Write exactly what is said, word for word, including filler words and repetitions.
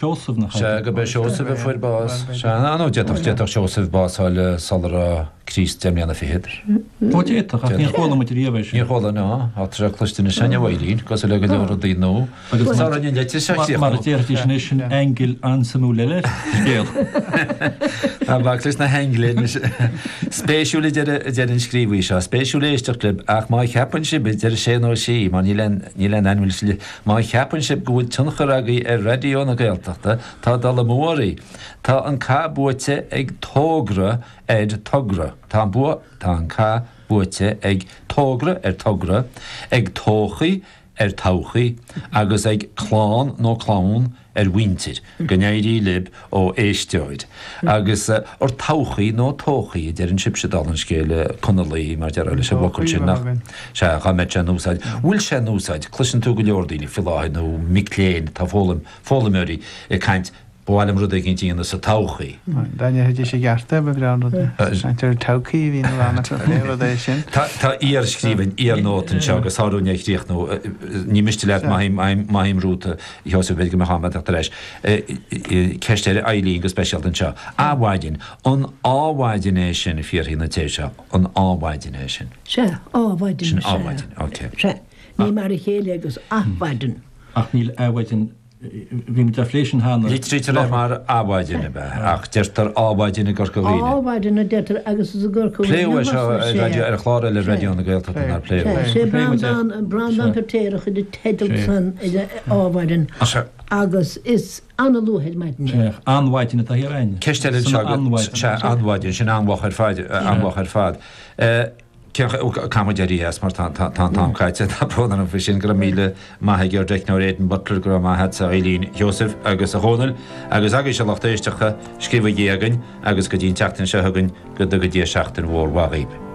Seosamh nach Sea, go b'é Seosamh a fuair bás. Sea, nó d'fhéadfadh, d'fhéadfadh Seosamh bás a fháil sula raibh Críost deich mbliana fichead. Ó d'fhéadfadh, ach níor chuala muid riamh é sin. Níor chuala, ná. Tá sé cloiste anois againn, a Mháirín, cosúil le go leor rudaí nua. Agus Sara an litir seo a chríochnú. Mar a déarfaidís anois, sin angle an-suimiúil eile ar an scéal. Tá bac leis na haingle anois. Spéisiúil a deir, a deir an scríobhaí seo, spéisiúil éisteacht libh, ach má cheapann sibh, a deir sé nó sí, mar níl aon, níl aon ainm leis, Má cheapann sibh go bhfuil tionchar agaibh ar Raidió na Gaeltachta, tá dul amú oraibh. Tá an cath buaite ag Tógra ar Togra. Tá an bua, tá an cath buaite ag Tógra ar Togra, ag Todhchaí ar Todhchaí agus ag Clann nó Clann ar mhuintir. Go n-éirí libh ó éisteoir. Agus ar todhchaí nó todhchaí a deireann sibhse dála an scéil, Conallaigh, mar déarfá leis an bhfocal sin, nach? Sea, dhá mbeadh sé in úsáid. Bhfuil sé in úsáid? Cloiseann tú go leor daoine faoi láthair nó mic léinn atá ag foghlaim, foghlaimeoirí ag caint, ba mhaith liom rud éigin a dhéanamh sa todhchaí. Dá ndéarfaidís i gceart é, ba bhreá an rud é. Caint ar todhchaí a bhíonn a lán acu, pé rud é sin. Tá tá iarscríbhinn, iarnóta anseo agus tá orainn é a chríochnú. Ní miste leat, maithim, maithim romhat, a Sheosaimh, b'fhéidir go mbeadh am agat ar ais. Ceist ar Eileen go speisialta anseo. Adhmhaidin, an ádhmhaidin é sin a fiafraíonn an té seo, an ádhmhaidin é sin? Sea, ádhmhaidin, Sin sea. ádhmhaidin, ok. Sea, ní mar a chéile agus athmhaidin. Ach níl adhmhaidin Bhí muid á phlé sin cheana. Litrítear é mar adhmhaidin, ab ea? Ach deirtear ádhmhaidin i gCorca Dhuibhne. Ádhmhaidin a deirtear agus is i gCorca Dhuibhne Pléadh é seo ar raidió, ar chlár eile Raidió na Gaeltachta nár pléadh é. Sé Breandán, Breandán Feirtéar a chuir an teideal san ar ádhmhaidin agus is an-luath ar maidin é. Anmhaidin atá thiar againn. Ceist eile anseo, sea, anmhaidin, sin an-mhoch ar fad, an-mhoch ar fad. Caithfidh muid éirí as mar tá an t-am caite. Tá brón orm faoi sin. Go raibh míle maith ag ár dteicneoir Aidan Butler, go raibh maith agatsa a Eileen Sheosaimh agus a Dhónaill agus agaibhse a lucht éisteachta, scríobhaigí chugainn agus go dtí an tseachtain seo chugainn go dtuga Dia seachtain mhór mhaith dhaoibh.